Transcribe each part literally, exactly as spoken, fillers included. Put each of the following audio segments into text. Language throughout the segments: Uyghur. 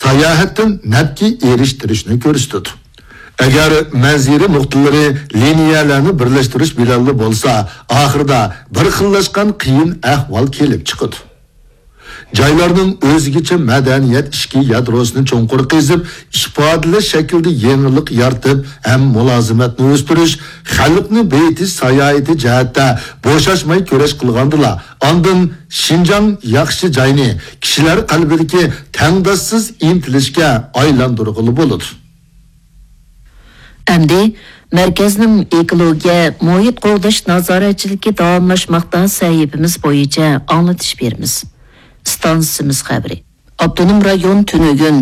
ساياھەتتىن نەپكە ئېرىشتۈرۈشنى كۆرسىتىدۇ. ئەگەر مەنزىرە نۇقتىلىرى لىنىيەلەرنى بىرلەشتۈرۈش بىلەنلا بولسا، ئاخىرىدا بىر خىللاشقان قىيىن ئەھۋال كېلىپ چىقىدۇ. جايلارنىڭ ئۆزگىچە مەدەنىيەت ئىچكى يادروسىنى چوڭقۇر قېزىپ، ئىپادىلەش شەكلىدە يېڭىلىق يارىتىپ ھەم مۇلازىمەتنى ئۆستۈرۈش، خەلقنى بېيىتىش ساياھىتى جەھەتتە بوشاشماي كۈرەش قىلغاندىلا، ئاندىن شىنجاڭ ياخشى جاينى، كىشىلەر قەلبىدىكى تەڭداشسىز ئىنتىلىشكە ئايلاندۇرغىلى بولىدۇ. ئەمدى مەركەزنىڭ ئېكولوگىيە، مۇھىت قوغداش نازارەتچىلىكى داۋاملاشماقتا سەھىپىمىز بويىچە ئاڭلىتىش بېرىمىز. ئىستانسىمىز خەۋىرى. ئاپتونوم رايون تۈنۈگۈن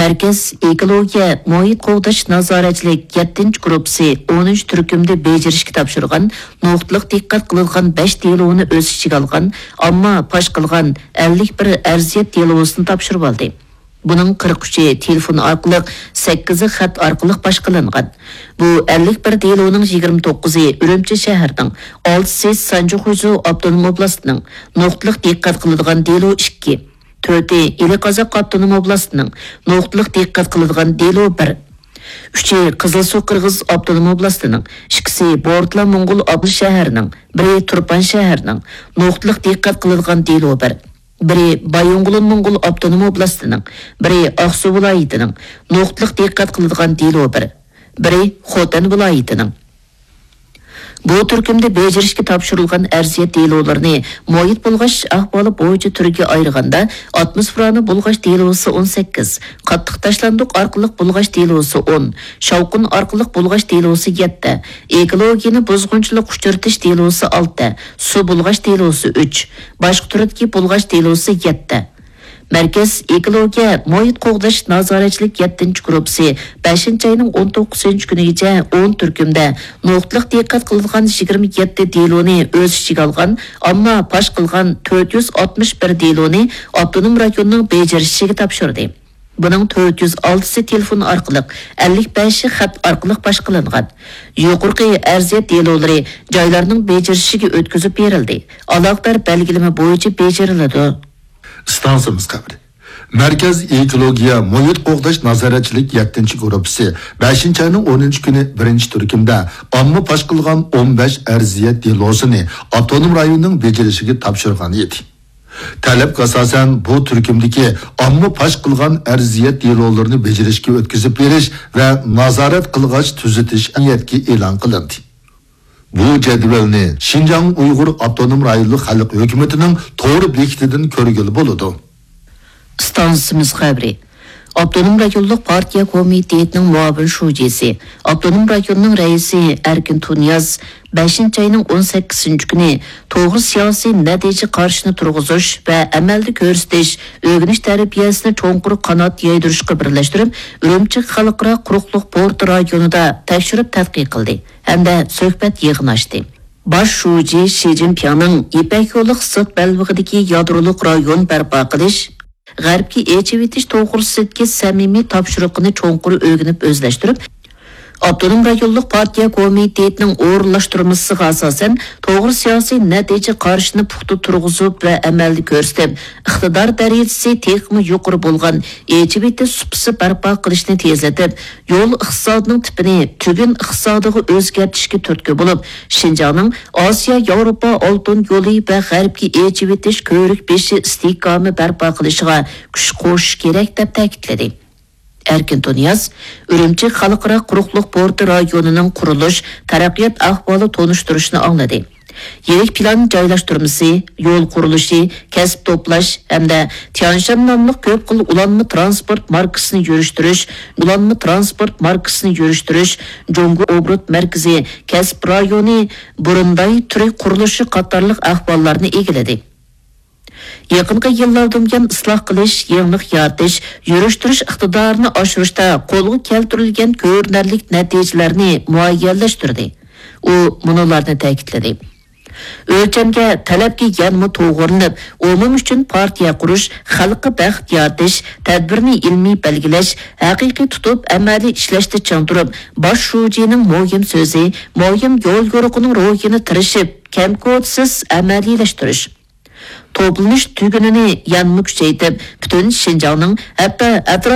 مەركەز ئېكولوگىيە، مۇھىت قوغداش نازارەتچىلىك يەتتىنچى گۇرۇپپىسى ئونىنچى تۈركۈمدە بېجىرىشكە تاپشۇرغان نۇقتىلىق دىققەت قىلىدىغان بەش دېلونى ئۆز ئىچىگە ئالغان، ئامما پاش قىلغان ئەللىك بىر ئەرزىيەت دېلوسىنى تاپشۇرۇۋالدى. بۇنىڭ قىرىق ئۈچى تېلېفون ئارقىلىق، سەككىزى خەت ئارقىلىق پاش قىلىنغان. بۇ ئەللىك بىر دېلونىڭ يىگىرمە توققۇزى ئۈرۈمچى شەھىرىنىڭ، ئالتىسى سانجى خۇيزۇ ئاپتونوم ئوبلاستىنىڭ، نۇقتىلىق دىققەت قىلىدىغان دېلو ئىككى، تۆتى ئىلى قازاق ئاپتونوم ئوبلاستىنىڭ، نۇقتىلىق دىققەت قىلىدىغان دېلو بىر، ئۈچى قىزىلسۇ قىرغىز ئاپتونوم ئوبلاستىنىڭ، ئىككىسى بورتلا موڭغۇل ئابلا شەھىرىنىڭ، بىرى تۇرپان شەھىرىنىڭ، نۇقتىلىق دىققەت قىلىدىغان دېلو بىر، بىرى بايىنغولىن موڭغۇل ئاپتونوم ئوبلاستىنىڭ، بىرى ئاقسۇ ۋىلايىتىنىڭ، نۇقتىلىق دىققەت قىلىدىغان دېلو بىر، بىرى خوتەن ۋىلايىتىنىڭ. بۇ تۈركۈمدە بېجىرىشكە تاپشۇرۇلغان ئەرزىيەت دېلولىرىنى مۇھىت بۇلغاش ئەھۋالى بويىچە تۈرگە ئايرىغاندا، ئاتموسفېرانى بۇلغاش دېلوسى ئون سەككىز، قاتتىق تاشلاندۇق ئارقىلىق بۇلغاش دېلوسى ئون، شاۋقۇن ئارقىلىق بۇلغاش دېلوسى يەتتە، ئېكولوگىيەنى بۇزغۇنچىلىققا ئۇچرىتىش دېلوسى ئالتە، سۇ بۇلغاش دېلوسى ئۈچ، باشقا تۈردىكى بۇلغاش دېلوسى يەتتە. مەركەز ئېكولوگىيە، مۇھىت قوغداش نازارەتچىلىك يەتتىنچى گۇرۇپپىسى بەشىنچى ئاينىڭ ئون توققۇزىنچى كۈنىگىچە ئون تۈركۈمدە نۇقتىلىق دىققەت قىلىدىغان يىگىرمە يەتتە دېلونى ئۆز ئىچىگە ئالغان، ئامما پاش قىلغان تۆت يۈز ئاتمىش بىر دېلونى ئاپتونوم رايوننىڭ بېجىرىشىگە تاپشۇردى. بۇنىڭ تۆت يۈز ئالتىسى تېلېفون ئارقىلىق، ئەللىك بەشى خەت ئارقىلىق پاش قىلىنغان. يۇقىرىقى ئەرزىيەت دېلولىرى جايلارنىڭ بېجىرىشىگە ئۆتكۈزۈپ بېرىلدى. ئالاقىدار بەلگىلىمە بويىچە بېجىرىلىدۇ. ئىستانسىمىز خەۋىرى. مەركەز ئېكولوگىيە، مۇھىت قوغداش نازارەتچىلىك يەتتىنچى گۇرۇپپىسى بەشىنچى ئاينىڭ ئونىنچى كۈنى بىرىنچى تۈركۈمدە ئامما پاش قىلغان ئون بەش ئەرزىيەت دېلوسىنى ئاپتونوم رايوننىڭ بېجىرىشىگە تاپشۇرغان ئىدى. تەلەپكە ئاساسەن، بۇ تۈركۈمدىكى ئامما پاش قىلغان ئەرزىيەت دېلولىرىنى بېجىرىشكە ئۆتكۈزۈپ بېرىش ۋە نازارەت قىلغاچ تۈزىتىش ئەمەلىيەتكە ئېلان قىلىندى. بۇ جەدۋەلنى شىنجاڭ ئۇيغۇر ئاپتونوم رايونلۇق خەلق ھۆكۈمىتىنىڭ تور بېكىتىدىن كۆرگىلى بولىدۇ. ئىستانسىمىز خەۋىرى. ئاپتونوم رايونلۇق پارتىيە كومىتېتىنىڭ مۇئاۋىن شۇجىسى، ئاپتونوم رايوننىڭ رەئىسى ئەركىن تۇنىياز بەشىنچى ئاينىڭ ئون سەككىزىنچى كۈنى توغرا سىياسىي نەتىجە قارىشىنى تۇرغۇزۇش ۋە ئەمەلدە كۆرسىتىش، ئۆگىنىش تەربىيەسىنى چوڭقۇر قانات يايدۇرۇشقا بىرلەشتۈرۈپ، ئۈرۈمچى خەلقئارا قۇرۇقلۇق پورتى رايونىدا تەكشۈرۈپ تەتقىق قىلدى ھەمدە سۆھبەت يىغىنى ئاچتى. باش شۇجى شى جىنپىڭنىڭ يىپەك يولى ئىقتىساد بەلبېغىدىكى يادرولۇق رايون بەرپا قىلىش، غەربكە ئېچىۋېتىش توغرىسىدىكى سەمىمىي تاپشۇرۇقىنى چوڭقۇر ئۆگىنىپ ئۆزلەشتۈرۈپ، ئاپتونوم رايونلۇق پارتىيە كومىتېتىنىڭ ئورۇنلاشتۇرمىسىغا ئاساسەن، توغرا سىياسىي نەتىجە قارىشىنى پۇختا تۇرغۇزۇپ ۋە ئەمەلدە كۆرسىتىپ، ئىقتىدار دەرىجىسى تېخىمۇ يۇقىرى بولغان ئېچىۋېتىش سۇپىسى بەرپا قىلىشنى تېزلىتىپ، يول ئىقتىسادىنىڭ تىپىنى تۈگۈن ئىقتىسادىغا ئۆزگەرتىشكە تۈرتكە بولۇپ، شىنجاڭنىڭ ئاسىيا ياۋروپا ئالتۇن يولى ۋە غەربكە ئېچىۋېتىش كۆۋرۈك بېشى ئىستىھكامى بەرپا قىلىشىغا كۈچ قوشۇش كېرەك، دەپ تەكىتلىدى. ئەركىن تۇنىياز ئۈرۈمچى خەلقئارا قۇرۇقلۇق پورتى رايونىنىڭ قۇرۇلۇش، تەرەققىيات ئەھۋالى تونۇشتۇرۇشىنى ئاڭلىدى. يىرىك پىلان جايلاشتۇرمىسى، يول قۇرۇلۇشى، كەسىپ توپلاش ھەمدە تيانشان ناملىق كۆپ خىل ئۇلانما ترانسپورت ماركىسىنى يۈرۈشتۈرۈش، ئۇلانما ترانسپورت ماركىسىنى يۈرۈشتۈرۈش، جۇڭگو ئوبوروت مەركىزى، كەسىپ رايونى، بۇرۇنداي تۈرى قۇرۇلۇشى قاتارلىق ئەھۋاللارنى ئىگىلىدى. يېقىنقى يىللاردىن بۇيان ئىسلاھ قىلىش، يېڭىلىق يارىتىش، يۈرۈشتۈرۈش ئىقتىدارىنى ئاشۇرۇشتا قولغا كەلتۈرۈلگەن كۆرۈنەرلىك نەتىجىلەرنى مۇئەييەنلەشتۈردى. ئۇ مۇنۇلارنى تەكىتلىدى. ئۆلچەمگە، تەلەپكە يەنىمۇ توغرىلىنىپ، ئومۇم ئۈچۈن پارتىيە قۇرۇش، خەلققە بەخت يارىتىش، تەدبىرنى ئىلمىي بەلگىلەش، ھەقىقىي تۇتۇپ، ئەمەلىي ئىشلەشتە چىڭ تۇرۇپ، باش شۇجىنىڭ مۇھىم سۆزى، مۇھىم يول يورۇقىنىڭ روھىنى تىرىشىپ، كەمكوتسىز ئەمەلىيلەشتۈرۈش. توپلىنىش تۈگۈنىنى يەنىمۇ كۈچەيتىپ، پۈتۈن شىنجاڭنىڭ، ھەتتا ئەتراپ